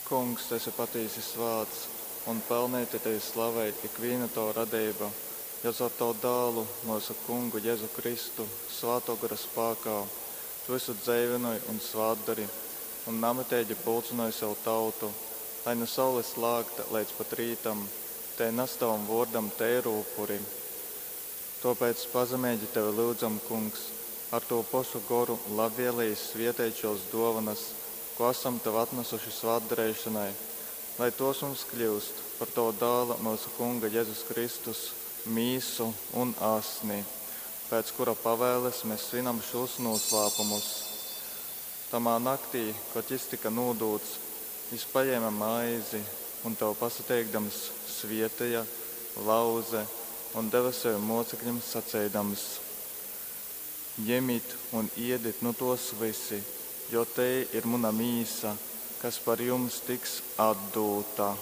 Kungs, tu esi patīsi svāts, un pelneiti tevi slavej ikvīna tova radeiba, jo caur tavu Dālu, myusu Kungu Jezu Kristu, Svātō Gora spākā, tu vysu dzeivynoj un svātdori, un namiteigi pulcynoj sev tautu, lai nu saules lākta leidz pat rītam tei nas tavam vōrdam teiru upuri. Tōpēc pazemeigi tevi lyudzam, Kungs, ar tū pošu Goru labvēleigi svieteit šōs dōvonas, ko asam tev atnasuši svātdareišonai, lai tōs mums kļyust par tova Dāla, myusu Kunga Jezus Kristus, mīsu un asni, pēc kura pavēles mes svinam šūs nūslāpumus. Tamā naktī, kod jys tyka nūdūts, jys pajēme maizi un, tev pasateikdams, svieteja, lauze un deve sevim mōcekļim saceidams: Jemit un iedit nu tōs vysi, jo tei ir muna mīsa, kas par jums tiks atdūta.